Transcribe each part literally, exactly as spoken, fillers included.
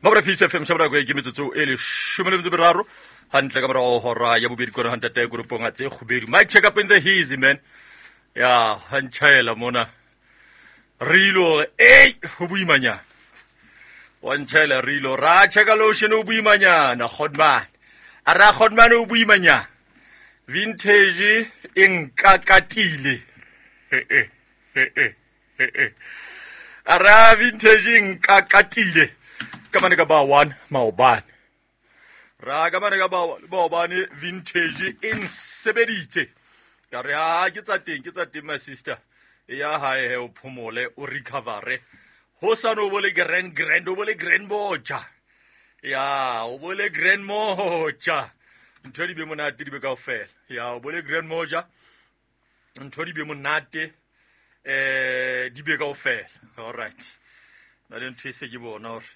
Mabra Peace F M shabra go ke metsotso e leshome le metso e meraro hantle ka morao hora ya bobedi kore hantate koropong a tse kgubedu. Mic check up in the hazy man. Ya hantjhaela mona. Re ilo ei ho boimanyana. Wa ntjhaela re ilo ra checka lotion o boimanyana Godman. A ra Godman o boimanyana. Vintage e nkakatile. Eh eh eh eh eh. A ra vintage e nkakatile. Ka mane ka ba one maobane. Ra ka mane ka ba maobane vintage e nsebeditse. Ka re ha ke tsa teng ke tsa teng my sister. Ya hae he o phomole o recovere. Ho sa no bole grand grand o bole grand moja. Ya o bole grand moja. Ntho di be monate di be kaofela. Ya o bole grand moja. Ntho di be monate eh di be kaofela. All right. Na le ntho e se ke bona hore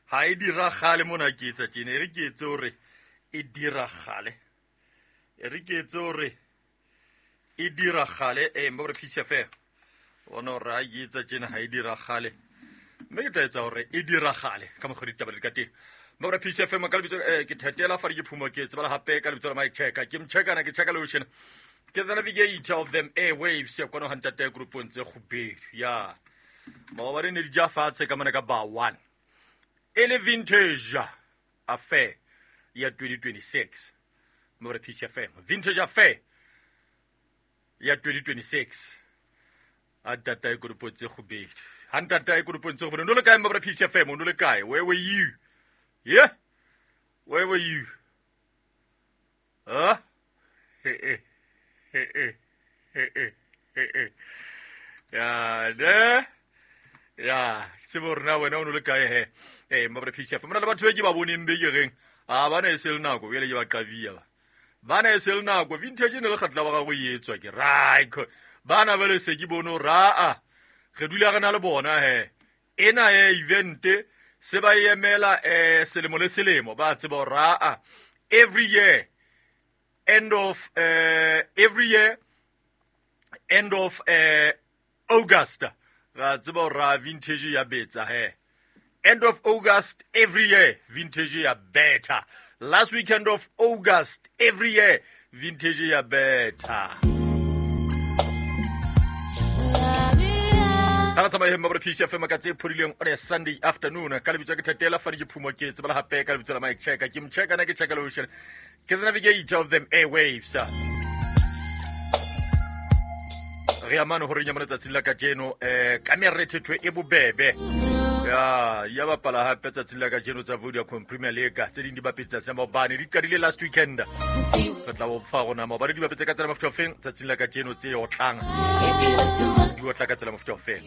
ha e diragale mona ke etsa tjena, e re ke etse hore e diragale. E re ke etse hore e diragale eh mbo re Peace F M. Bona hore ha ke etsa tjena ha e diragale. Mme ke tla etsa hore e diragale ka mokgwa ditaba di ka teng. Mbo re Peace F M ka lebitso eh ke thetela fa di ke phumo ke tsebala hape ka lebitso la Mike Checker. Ke mchecka na ke checka lotion. Ke the navigator of them airwaves ya kwana hantate groupong tse kgubedu. Ya. Maobane ne di ja fatshe ka mona ka ba one. Ele vintage affair ya twenty twenty-six. Mbo re Peace F M. Vintage affair ya twenty twenty-six. A tata e kopo tse kgubedu. Ha ntata e kopo tse kgubedu. No le kae mbo re Peace F M? No le kae? Where were you? Yeah? Where were you? Huh? Eh eh eh eh eh eh eh. Ya ne? Ya, tsebo rena wena o no le kae he? Eh mbo re Peace F M. Mona le batho ba ke ba boneng be ke reng? A bana e se le nako bjale ke ba qavia ba. Bana e se le nako vintage ne le kgatla ba gago e etswa ke right. Bana ba le se ke bono ra a. Re dula re na le bona he. Ena e event se ba emela eh selemo le selemo ba tseba ra a. Every year end of uh, every year end of uh, August ra tseba ra vintage ya betsa he. End of August every year vintage ya better. Last weekend of August every year vintage ya better. Ha tsamaya mma Peace F M ka tse phodileng on a Sunday afternoon ka lebitso ke thetela fa di ke phumo ke tsebala hape ka lebitso la Mike Checker ke mchecka na ke checka lotion ke the navigator of them airwaves. Re amano hore nyamana tsatsi la kajeno eh ka merethetho e bobebe. Ya ya bapala hape tsatsi la kajeno tsa Vodacom Premier League tse ding di bapetse tsa maobane di qadile last weekend. Re tla bo fa rona maobane di bapetse ka tsela mofuta ofeng tsatsing la kajeno tse otlang. Di otla ka tsela mofuta ofeng.